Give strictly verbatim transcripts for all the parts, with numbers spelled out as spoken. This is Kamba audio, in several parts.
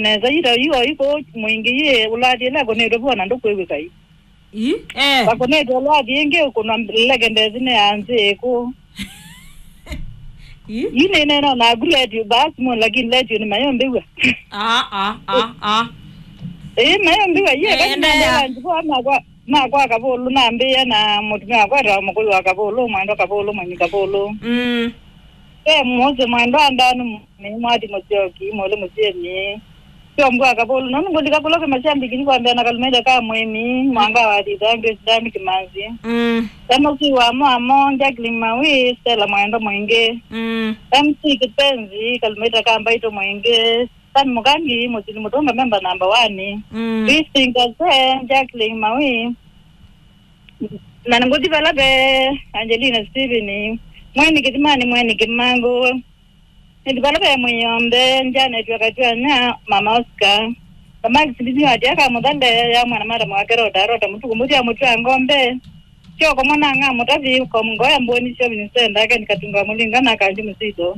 nesa, ita yu o iko mwingi yi ulathi ila akonetwe vona ndukwĩw'ĩka yu. Ĩ? Eh. Akonetwe ulathi ingi kunwa leke ndesi ne anzi iku. Ĩ? Yu ni neno na gu radio basi mo, lakini radio ni mayo mbiwa. Ah, ah, ah, ah. Eh, mayo mbiwa, ye. Eh, kati na endelea. Ndela njipo makwa, makwa Kavulu, nambia na mutumia wakwa ta mukui wa Kavulu, mwendo Kavulu, mwenyi Kavulu. Mm. Ve Mose Mwendwa Ndanu, nĩ Mwati Mũsyoki, Mũlĩ Mũsyeni. Sio mbua Kavulu, nũndũ ngũlika kũla kwĩ mashabiki nĩ kwambĩa na Kalumĩte ka Mwĩmi, Mwanga wa Thitha, Grace Dan Kimanzi. Mm. Samusi wa Mwamo, Jacqueline Mawi, Stella Mwendo Mwingĩ. Mm. M C Kipenzi, Kalumĩte ka Mbaitũ Mwingĩ. Stan Mukangi, Mũsili Mũtũnga, memba namba one. Mm. Christine Kase, Jacqueline Mawi. Na ngũthi vala ve Angelina Steven, Mweni Kĩthimani, Mweni Kĩmangũ. Nĩthi vala ve Mwĩombe, Janet wa Katwanya, Mama Oscar. Kamaki Silivia wa Tiaka Mũthale, ya mwana mara mwake Rota, Rota Mũtuku, Mũthia Mũtwia Ngombe. Kyoko mwana ng'a Mũtavi, Komngoya Mboni, Shopping Center, Ken Katunga Mũlinga na Kanji Mũsito.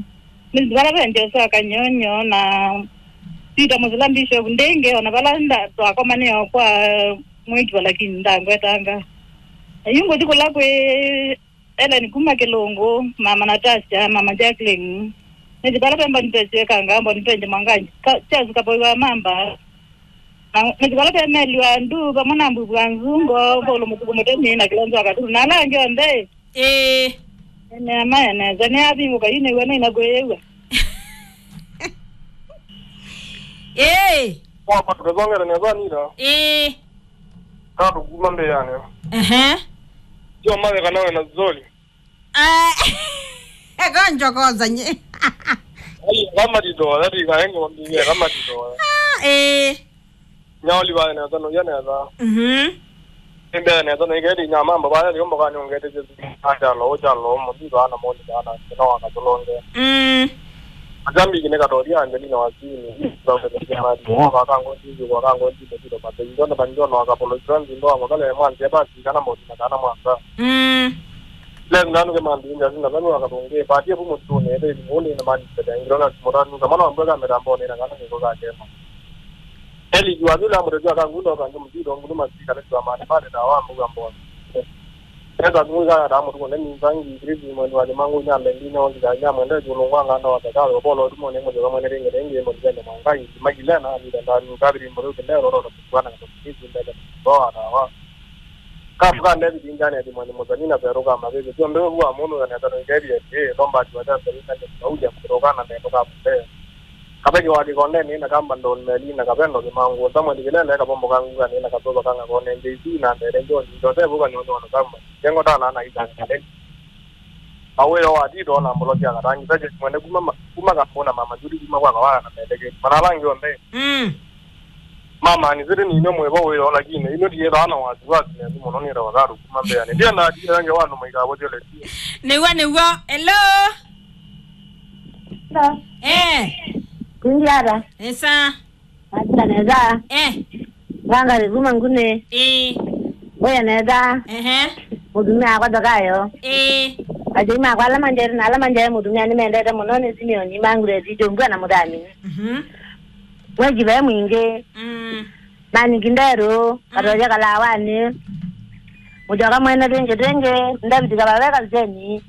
Nĩthi vala ve Joshua Kanyonyo na Peter Mũsila Bishop Ndenge, ona vala nda twakomanĩo kwa mwĩkiwa, lakini ndangwetanga. Na yu ngũthi kũla kwĩ Ellen kuma Kĩlũngũ, Mama Natasha, Mama Jacqueline. Nĩthi vala ve Mboni Pesi Wekanga, Mboni Penje Mwanganji, Ka-, Charles Kapoi wa Mamba. Na nĩthi vala ve Meli wa Ndu, vamwe na Mbuvu wa Nzungo, Paulo Mũtuku Mũtemi, na Kilonzo wa Katuru. Na ala angĩ onthe, ĩ. Ĩ. Nĩamae nesa, nĩavingũka yu nĩw'a nĩna kwĩyĩw'a. Ĩ. Wapa tũkethongere nesa nina. Ĩ. Tatũkuma mbĩanĩ. Ehe. Sio mawe kana wena zoli. Ah, eka njokoza nye. Ai, kama ditoya, dika engo mbinge, kama ditoya. Ah, eh. Nyaoli vaya nesa, no ya nesa. Mhm. Ende nesa, no igedi nyama mba vaya, yombo kani ongete je. Achalo, ochalo, mo dito ana mo dito ana, no ana tolonge. Mm. Ajambi kine katoria Angelina Wasini. Kwa kango dito, kwa kango dito, dito mate. Ndona banjona wakapolo, ndona wakale mwanzi basi kana mo na kana mwanza. Mm. Leo nanu ke mambinga sina kanu akabonge pati ya bumu tune ebe mone na mani tete ngiro na mora nu kama na mbega mera mbone na kana niko ka kema. Eli jua bila mure jua kangu ndo kangu mjiro ngulu masika le jua mane mane na wa mbuga mbone. Eka ngu ga da mu tune ni zangi gridi mwe wa mangu nya lendi na wa nya mwende julu ngwa nganda wa kaka bolo tu mone mo jua mwe ne ringe ringe mo jende mangai magilena ni da ni kabiri mo ke leo ro ro kwa na kwa ni jinde da wa. Kapu ka David injani ati mwani mũthoni na verũ ka mavĩvĩ. Sio mbĩvĩ vua mũndũ na neta no ikethie ati, eh, no mbati wa tata ina ni kauja kũrũka na nendo ka mũte. Kapeki wa kĩkondeni na kamba ndoni meli na kapendo kĩmangu. Samuel Kilele kapombo ka nguga ni na katoba kanga kone J C na ndere John. Joseph uka nyondo na kamba. Jengo tala na ita ndere. Awĩo wa tito na mbolo sya katangi. Saje mwene kuma ma-, kuma kapona mama Judi kuma kwa kawala na mendeke. Manalangi onthe. Mm. Mama, nĩsĩtĩ nĩ inyuĩ mwĩ vo wĩoo, lakini inyuĩ ndiĩthaa na wasiwasi nenyu mũno nĩ tafadhali kuma mbĩanĩ. Ndiendaa ndiĩthange wandu maikavũthye lesi. Nĩw'o, nĩw'o. Hello? Hello. Eh. Kwingi ata? Nesa. Ata nesa. Eh. Wanga kuma ngune. Eh. Oya nesa. Ehe. Mũtumia akwa ndokayo. Ĩĩ. Asyai makwa ala manjete na ala manjae mũtumĩa nĩmendete mũno nĩ Simeoni, Manguleti, Jombua na Mũthami. Mhm. Mweki ve mwingĩ. Mm. Maningi nderũ, mm, katoja kalawanĩ. Mũtyoka mwene twĩngĩ twĩngĩ, Ndaviti kavave kaseni.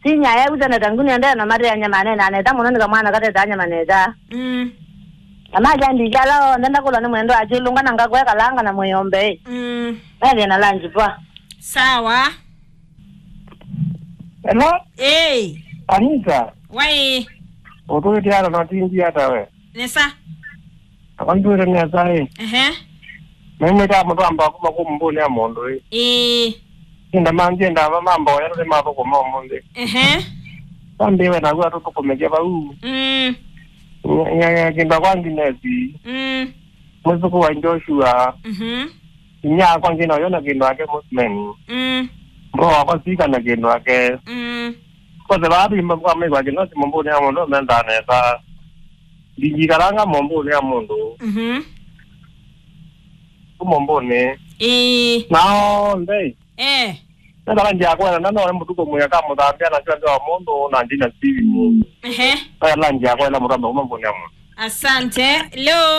Sinya ya uta na tanguni ndeno mate anyamane na neta mũno nĩ kamwana kateta anyamane ta. Mm. Amaja ndikala o ndenda kula nĩ mwendo achilunga na ngakwe kalanga na mwĩombe. Mm. Methĩe na lanji pwa. Sawa. Hello? Ĩĩ. Anita. Wai. Ũtũĩte ata na tindi ata we? Nesa. Akwa ndũĩte nesa ĩ. Ehe. Naimĩte amũtamba kuma kũ mbũnĩ ya mũndũ ĩ. Ĩĩ. Inda manjenda mamboya nĩ mathũkũma ũmũnthĩ. Ehe. Sambiwe naguo atũthũkũmĩke vau. Mm. Nya-, nya-, nya-, kĩndũ kwa Nginesi. Mm. Mwĩsũkũ wa Joshua. Mhm. Inyia akwa ngina ũyona kĩndũ ake Muslim. Mm. Mbro wakwa sika na kĩndũ ake. Mm. Kose baadhi mba kwa mwa kĩno si mũmbũnĩ ya mũndũ menza nesa. Ndingikalanga mũmbũnĩ ya mũndũ. Mhm. Ku mũmbũnĩ. Ĩĩ. Nao ndei. Eh. Nenda lanji yakwa na none mũtuko mũya ka mũthambia na sio ndio mũndũ na ndina siri mũndũ. Ehe. Aya lanji yakwa ila mũthamba kuma mũmbũnĩ ya mũndũ. Asante. Hello.